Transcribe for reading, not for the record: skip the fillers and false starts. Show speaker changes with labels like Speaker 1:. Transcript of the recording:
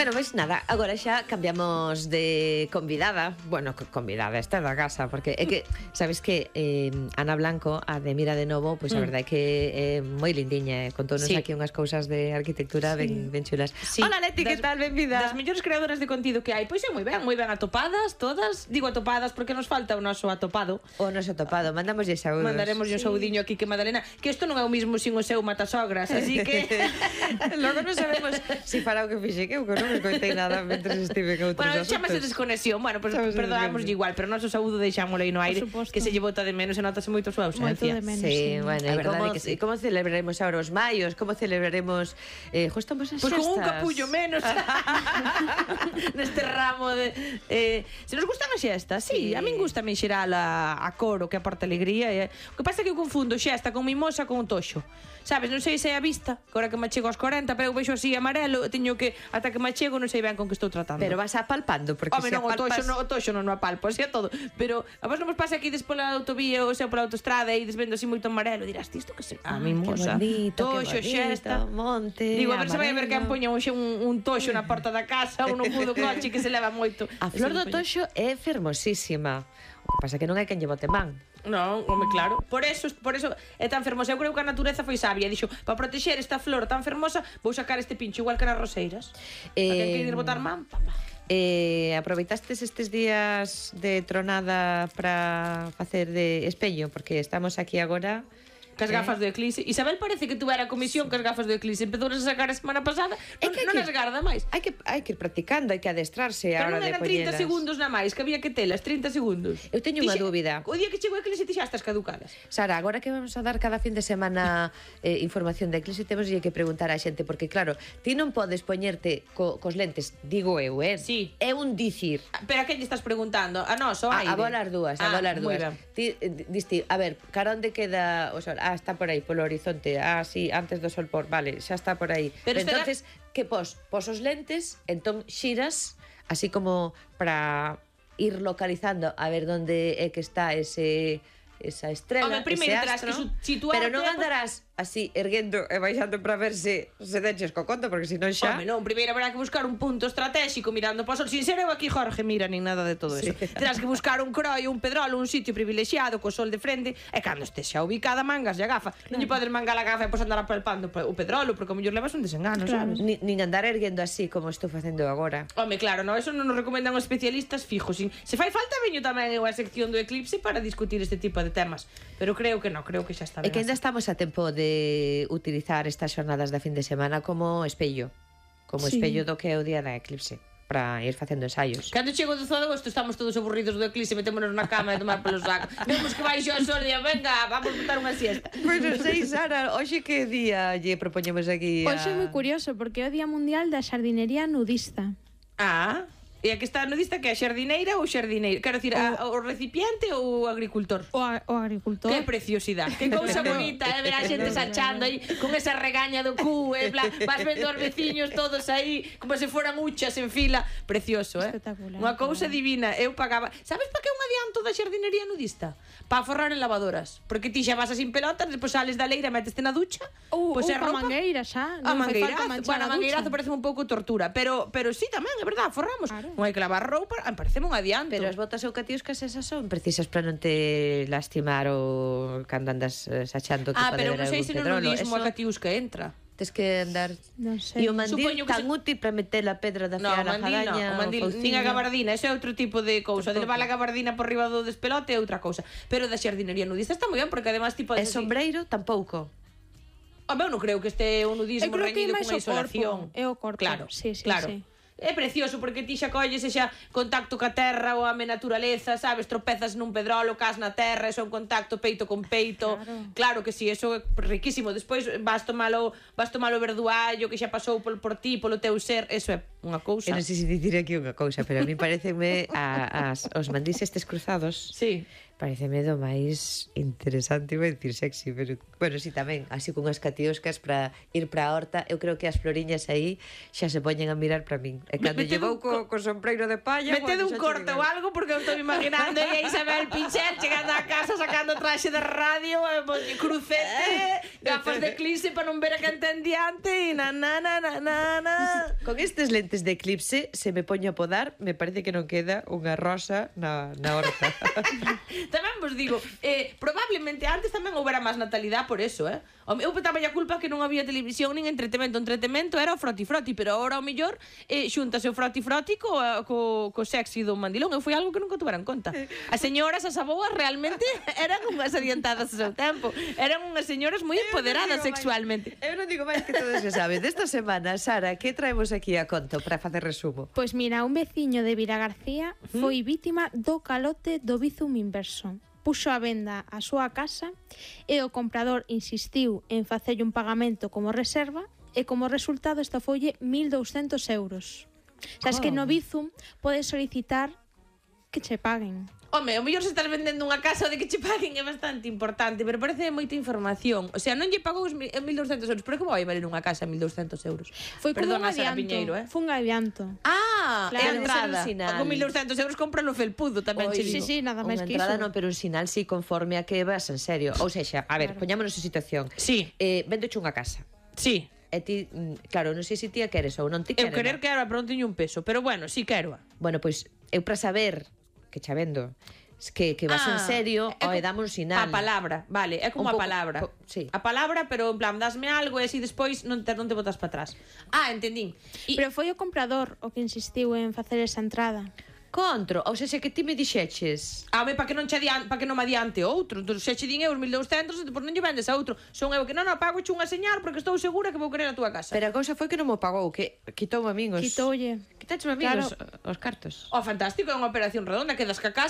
Speaker 1: Bueno, pois nada, agora xa cambiamos de convidada. Bueno, convidada, esta da casa, porque é que, sabes que Ana Blanco, a de Mira de Novo, pois a verdade é que é moi lindiña, contounos aquí unhas cousas de arquitectura ben chulas. Hola Leti, que tal? Benvida.
Speaker 2: Das mellores creadoras de contido que hai. Pois é moi ben atopadas todas. Digo atopadas porque nos falta o noso atopado.
Speaker 1: O noso atopado, mandamoslle saúdos.
Speaker 2: Mandaremoslle un saudiño aquí que Madalena, que isto non é o mismo sin o seu matasogras, así que
Speaker 1: logo non sabemos si fará o que fixe que eu non me coitei nada mentre estive que outros
Speaker 2: bueno,
Speaker 1: asuntos.
Speaker 2: chamase desconexión. Bueno, pues perdoámoslle igual, pero noso saúdo deixámosle aí no aire, que se lle bota de menos e notase moito a súa ausencia.
Speaker 1: Sí, bueno, a verdade que sí. Como celebraremos agora os maios? Como celebraremos estamos as
Speaker 2: xestas? Pois con un capullo menos neste ramo de se nos gustan as xestas, sí, a min gusta en xeral a cor, o que aporta alegría. O que pasa é que eu confundo xesta con mimosa con un toxo. Sabes, non sei se é a vista, que ahora que me chego aos 40, pero eu vexo así amarelo, teño que ata que me chego non sei ben con que estou tratando.
Speaker 1: Pero vas apalpando, porque
Speaker 2: se non, o toxo non o apalpo, así é todo. Pero a vos non vos pasa aquí despola autovía ou sea pola autoestrada e desvendo así moito amarelo, dirás, isto que se mimosa, toxo, xesta,
Speaker 1: monte,
Speaker 2: digo, a ver se vai a ver quen poña un toxo na porta da casa ou no mudo coche que se leva moito.
Speaker 1: A flor do toxo é fermosísima. O que pasa que non hai quen lle bote man.
Speaker 2: Non, home, claro. Por eso é tan fermosa. Eu creo que a natureza foi sabia. Dixo, para protexer esta flor tan fermosa, vou sacar este pincho igual que nas roseiras. A quen quere ir botar man,
Speaker 1: aproveitastes estes días de tronada para facer de espello, porque estamos aquí agora
Speaker 2: cas gafas do Eclipse. Isabel parece que tuvera comisión cas gafas do Eclipse. Empezou a sacar a semana pasada. Non as garda máis.
Speaker 1: Hai que ir practicando, hai que adestrarse a hora de
Speaker 2: Pero non eran 30
Speaker 1: poñelas.
Speaker 2: segundos na máis, que había que telas, 30 segundos.
Speaker 1: Eu teño unha dúbida.
Speaker 2: O día que chegou o Eclipse ti xa estás caducadas.
Speaker 1: Sara, agora que vamos a dar cada fin de semana información de Eclipse, temos que preguntar á xente, porque claro, ti non podes poñerte cos lentes, digo eu,
Speaker 2: Sí.
Speaker 1: É un dicir.
Speaker 2: Pero a quen lle estás preguntando? A nós, o aire?
Speaker 1: A bolas dúas, Ti diste, a ver, cara onde queda o sol? Está por aí, polo horizonte. Sí, antes do sol por, vale, xa está por aí. Pero entonces, que pos os lentes, entón xiras, así como para ir localizando a ver onde é que está esa estrela,
Speaker 2: primeiro
Speaker 1: ese astro,
Speaker 2: que situarte,
Speaker 1: pero non andarás así erguendo e baixando para ver se deches co conto, porque senón xa...
Speaker 2: Home, non, primeiro habrá que buscar un punto estratégico mirando para o sol. Sin ser eu aquí, Jorge, mira, nin nada de todo eso. Terás que buscar un croio, un pedrolo, un sitio privilexiado co sol de frente, e cando estés xa ubicada mangas e a gafa. Non lle podes mangar a gafa e pois andar apalpando o pedrolo, porque o mellor levas un desengano, sabes?
Speaker 1: Nin andar erguendo así como estou facendo agora.
Speaker 2: Home, claro, no, eso non nos recomendan os especialistas fijos. Se fai falta veño tamén eu a sección do Eclipse para discutir este tipo de temas, pero creo que non, creo que xa está ben.
Speaker 1: E que ainda estamos a tempo de utilizar estas xornadas da fin de semana como espello, espello do que é o día da Eclipse, para ir facendo ensaios.
Speaker 2: Cando chego o 12 de agosto estamos todos aburridos do Eclipse, metémonos na cama e tomar polo saco. Vemos que baixo o sol e venga, vamos botar unha siesta.
Speaker 1: Pois non sei, Sara, hoxe que día lle propoñemos aquí?
Speaker 3: Hoxe é moi curioso porque é o Día Mundial da Xardinería Nudista.
Speaker 2: E a que está nudista que é a xardineira ou xardineiro? Quero dicir, o recipiente ou o agricultor?
Speaker 3: O agricultor.
Speaker 2: Que preciosidade, que cousa bonita, ver a xente sachando aí con esa regaña do cu, vas vendo os veciños todos aí como se foran uchas en fila, precioso,
Speaker 3: Espectacular.
Speaker 2: Unha cousa divina. Eu pagaba. Sabes para que é un adianto da xardinería nudista? Para forrar en lavadoras, porque ti xa vas sin pelotas, depois sales da leira, meteste na ducha,
Speaker 3: pois
Speaker 2: a
Speaker 3: roupa, mangueira xa,
Speaker 2: a mangueirazo, bueno, a mangueirazo parece un pouco tortura, pero sí tamén, é verdad, forramos. Non hai que lavar roupa, pareceme un adianto.
Speaker 1: Pero as botas eucatiuscas esas son precisas para non te lastimar ou cando andas sachando que pode
Speaker 2: pero
Speaker 1: haber
Speaker 2: non sei
Speaker 1: algún
Speaker 2: se no
Speaker 1: pedrolo.
Speaker 2: nudismo a catiusca entra.
Speaker 1: Tes que andar...
Speaker 3: Non sei.
Speaker 1: E o mandil tan útil para meter a pedra da fiar a jadaña,
Speaker 2: o mandil, nin a gabardina, eso é outro tipo de cousa. De levar a gabardina por riba do despelote é outra cousa. Pero da xardinería nudista está moi ben, porque además tipo...
Speaker 1: E sombreiro tampouco.
Speaker 2: Eu non creo que este o nudismo reñido con a isolación.
Speaker 3: É o corpo.
Speaker 2: Claro,
Speaker 3: sí.
Speaker 2: É precioso porque ti xa colles e xa contacto ca terra ou a naturaleza, sabes, tropezas nun pedrolo, cas na terra, eso é un contacto peito con peito. Claro que si, eso é riquísimo. Despois vas tomalo verduallo que xa pasou por ti, polo teu ser, eso é unha cousa.
Speaker 1: Eu non sei se dicir aquí unha cousa, pero a mí pareceme os mandís estes cruzados.
Speaker 2: Sí.
Speaker 1: Pareceme do máis interesante, vou dicir sexy, pero bueno, si tamén, así cunhas catioscas para ir para a horta. Eu creo que as floriñas aí xa se poñen a mirar para min. E cando llevou co sombreiro de palla,
Speaker 2: metede un corte ou algo, porque eu estou imaginando a Isabel Pinchet chegando a casa sacando traxe de radio, crucete, gafas de Eclipse para non ver a quen ten diante e na.
Speaker 1: Con estes lentes antes de eclipse, se me poño a podar, me parece que non queda unha rosa na horta.
Speaker 2: Tamén vos digo, probablemente antes tamén houbera máis natalidade por eso, Eu petaba a culpa que non había televisión nin entretemento. O entretemento era o froti-froti, pero ahora ao mellor xuntase o froti-froti co sexy do mandilón. Foi algo que nunca tuveran en conta. As señoras, as aboas, realmente eran unhas adiantadas ao seu tempo. Eran unhas señoras moi empoderadas sexualmente.
Speaker 1: Eu non digo máis que todo se sabe. Desta semana, Sara, que traemos aquí a conto para facer resumo?
Speaker 3: Pois mira, un veciño de Vilagarcía foi vítima do calote do Bizum inverso. Puxo a venda a súa casa e o comprador insistiu en facerlle un pagamento como reserva e como resultado estafolle 1.200 euros. Sabes que no Bizum podes solicitar que che paguen.
Speaker 2: Home, o mellor se estás vendendo unha casa de que che paguen é bastante importante, pero parece moita información. O sea, non lle pagou os 1.200 euros, pero como vai valer unha casa 1.200 euros?
Speaker 3: Foi como un adianto. Foi un adianto.
Speaker 2: Ah,
Speaker 1: Claro,
Speaker 2: é a entrada.
Speaker 1: sinal.
Speaker 2: Con 1.200 euros cómpralo felpudo, tamén che digo.
Speaker 3: Sí, nada máis
Speaker 1: Unha
Speaker 3: que
Speaker 1: entrada
Speaker 3: iso.
Speaker 1: non, pero un sinal sí conforme a que vas en serio. Ou sexa, a ver, poñámonos en situación.
Speaker 2: Sí.
Speaker 1: Vendoche unha casa.
Speaker 2: Sí.
Speaker 1: E ti, claro, non sei se ti a queres ou non ti
Speaker 2: Eu
Speaker 1: queres.
Speaker 2: querer que ahora pronto teño un peso, pero bueno, sí quero.
Speaker 1: Bueno, pois eu para saber que xa vendo que vas en serio, dame un sinal.
Speaker 2: A palabra, vale, é como a
Speaker 1: Un pouco,
Speaker 2: palabra.
Speaker 1: sí.
Speaker 2: A palabra, pero en plan, dasme algo e así despois non te botas para atrás. Ah, entendín.
Speaker 3: Pero foi o comprador o que insistiu en facer esa entrada.
Speaker 1: Contro, ou sexa que ti me dixeches.
Speaker 2: Home, para que non me adiante outro. Entón, se che din euros 1.200, depois non lle vendes a outro. Son eu que non pago che unha señal porque estou segura que vou querer a túa casa.
Speaker 1: Pero a cousa foi que non mo pagou, que quitou a min os...
Speaker 3: Quitoulle.
Speaker 1: Quitache a min
Speaker 3: Claro.
Speaker 1: os cartos.
Speaker 2: Oh, fantástico, é unha operación redonda, quedas ca casa